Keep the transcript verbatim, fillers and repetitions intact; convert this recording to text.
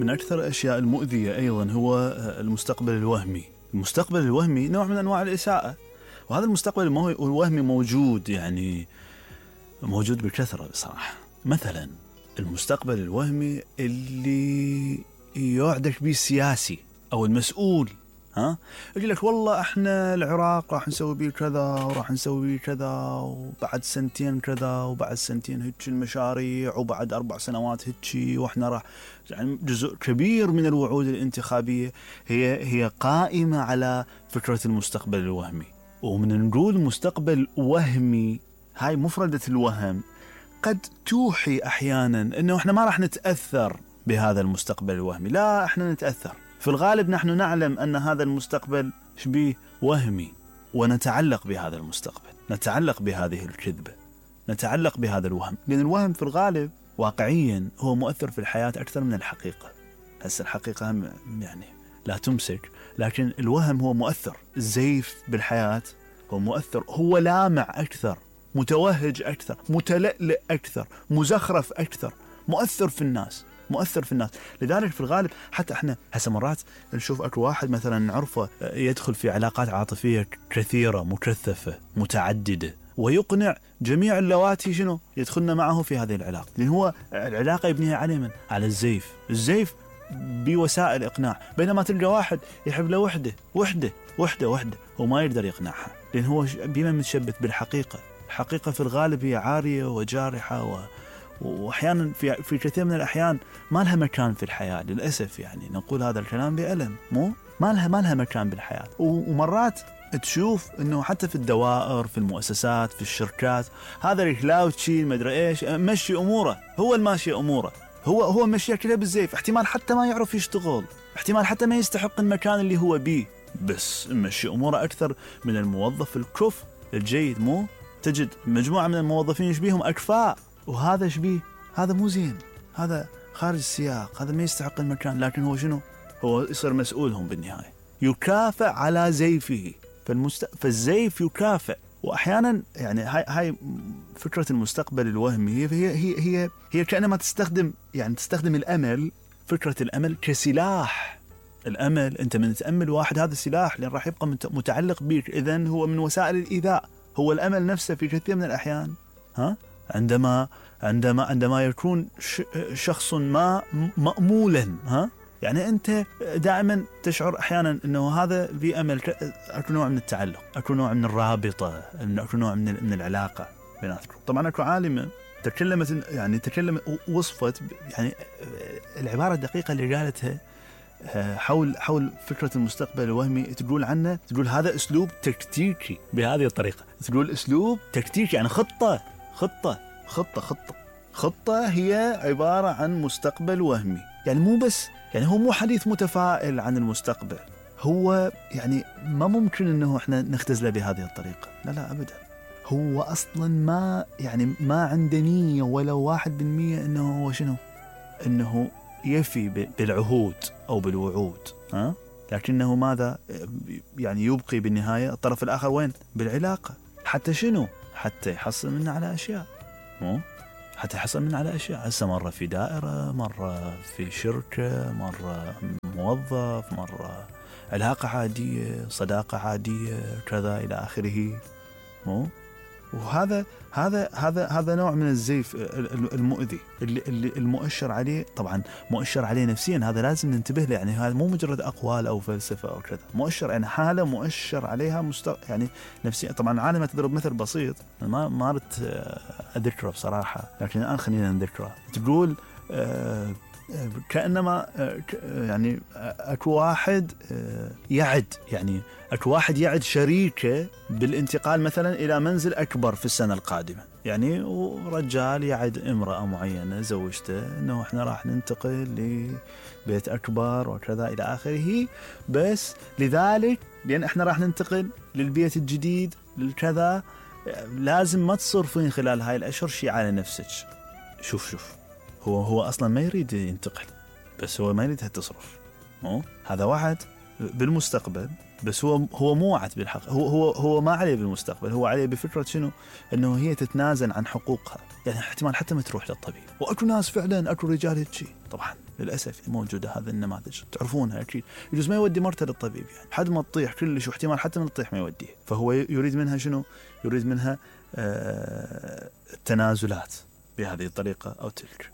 من أكثر الأشياء المؤذية أيضا هو المستقبل الوهمي. المستقبل الوهمي نوع من أنواع الإساءة، وهذا المستقبل الوهمي موجود يعني موجود بكثرة بصراحة. مثلا المستقبل الوهمي اللي يوعدك به السياسي أو المسؤول، ها يقول لك والله احنا العراق راح نسوي بيه كذا وراح نسوي بيه كذا وبعد سنتين كذا وبعد سنتين هيك المشاريع وبعد أربع سنوات هيك، واحنا راح يعني جزء كبير من الوعود الانتخابية هي هي قائمة على فكرة المستقبل الوهمي. ومن نقول مستقبل وهمي، هاي مفردة الوهم قد توحي أحيانا أنه إحنا ما راح نتأثر بهذا المستقبل الوهمي. لا، إحنا نتأثر في الغالب. نحن نعلم أن هذا المستقبل شبيه وهمي، ونتعلق بهذا المستقبل، نتعلق بهذه الكذبة، نتعلق بهذا الوهم، لأن الوهم في الغالب واقعيا هو مؤثر في الحياة أكثر من الحقيقة. هسه الحقيقة هم يعني لا تمسك، لكن الوهم هو مؤثر. الزيف بالحياة هو مؤثر، هو لامع أكثر، متوهج أكثر، متلألئ أكثر، مزخرف أكثر، مؤثر في الناس، مؤثر في الناس. لذلك في الغالب حتى احنا هسه مرات نشوف اكو واحد مثلا نعرفه يدخل في علاقات عاطفية كثيرة مكثفة متعددة، ويقنع جميع اللواتي شنو يدخلن معه في هذه العلاقة، لأن هو العلاقة يبنيها على من؟ على الزيف. الزيف بوسائل إقناع. بينما تلقى واحد يحب له وحدة وحدة وحدة وحدة وما يقدر يقنعها، لأن هو بما متشبث بالحقيقة. الحقيقة في الغالب هي عارية وجارحة و وأحيانا في في كثير من الأحيان ما لها مكان في الحياة للأسف. يعني نقول هذا الكلام بألم، مو ما لها ما لها مكان بالحياة. ومرات تشوف إنه حتى في الدوائر، في المؤسسات، في الشركات، هذا الكلاوتشي ما أدري إيش مشي أموره، هو الماشي أموره، هو هو مشي كذا بالزيف. احتمال حتى ما يعرف يشتغل، احتمال حتى ما يستحق المكان اللي هو بيه، بس مشي أموره أكثر من الموظف الكفء الجيد. مو تجد مجموعة من الموظفين يشبيهم أكفاء، وهذا شبيه هذا مو زين، هذا خارج السياق، هذا ما يستحق المكان، لكن هو شنو؟ هو يصير مسؤولهم بالنهاية، يكافئ على زيفه. فالمست... فالزيف يكافئ. وأحيانا يعني هاي هاي فكرة المستقبل الوهمي هي هي هي هي, هي كأنما تستخدم يعني تستخدم الأمل، فكرة الأمل كسلاح. الأمل أنت من تأمل واحد هذا سلاح، لأن راح يبقى متعلق بك، إذن هو من وسائل الإيذاء. هو الأمل نفسه في كثير من الأحيان ها عندما عندما عندما يكون شخص ما مأمولا، ها يعني أنت دائما تشعر أحيانا أنه هذا في أمل، أكو نوع من التعلق، أكو نوع من الرابطة، أكو نوع من من العلاقة بيناتكم. طبعا أكو عالمة تكلمت يعني تكلمت وصفت يعني العبارة الدقيقة اللي قالتها حول حول فكرة المستقبل الوهمي. تقول عنه، تقول هذا أسلوب تكتيكي. بهذه الطريقة تقول أسلوب تكتيكي، يعني خطة خطة خطة خطة خطة هي عبارة عن مستقبل وهمي. يعني مو بس يعني هو مو حديث متفائل عن المستقبل، هو يعني ما ممكن انه احنا نختزله بهذه الطريقة. لا لا ابدا، هو اصلا ما يعني ما عنده نية ولا واحد بالمية انه هو شنو انه يفي بالعهود او بالوعود، ها لكنه ماذا يعني يبقي بالنهاية الطرف الاخر وين؟ بالعلاقة. حتى شنو؟ حتى يحصل منه على اشياء، مو حتى يحصل من على أشياء. هسه مرة في دائرة، مرة في شركة، مرة موظف، مرة علاقة عادية، صداقة عادية، كذا إلى آخره. مو وهذا هذا هذا هذا نوع من الزيف المؤذي اللي, اللي المؤشر عليه، طبعا مؤشر عليه نفسيا. هذا لازم ننتبه له. يعني هذا مو مجرد أقوال أو فلسفة أو كذا، مؤشر يعني حالة مؤشر عليها مست... يعني نفسيا. طبعا عالمة تضرب مثل بسيط ما ما أردت أذكره بصراحة، لكن الآن خلينا نذكره. تقول آه كأنما يعني أكو واحد يعد يعني أكو واحد يعد شريكه بالانتقال مثلا إلى منزل أكبر في السنة القادمة. يعني ورجال يعد امرأة معينة زوجته إنه إحنا راح ننتقل لبيت أكبر وكذا إلى آخره، بس لذلك لأن إحنا راح ننتقل للبيت الجديد للكذا لازم ما تصرفين خلال هاي الأشهر شيء على نفسك. شوف شوف هو هو أصلا ما يريد ينتقل، بس هو ما يريدها تصرف. مو هذا واحد بالمستقبل، بس هو هو مو وعد بالحق. هو هو هو ما عليه بالمستقبل، هو عليه بفكرة شنو؟ إنه هي تتنازل عن حقوقها. يعني احتمال حتى ما تروح للطبيب. وأكو ناس فعلا أكو رجال هيك طبعا للأسف موجودة هذا النماذج، تعرفونها أكيد. يجوز ما يودي مرته للطبيب يعني حد ما تطيح كلش، واحتمال حتى من تطيح ما يوديه، فهو يريد منها شنو؟ يريد منها آه التنازلات بهذه الطريقة أو تلك.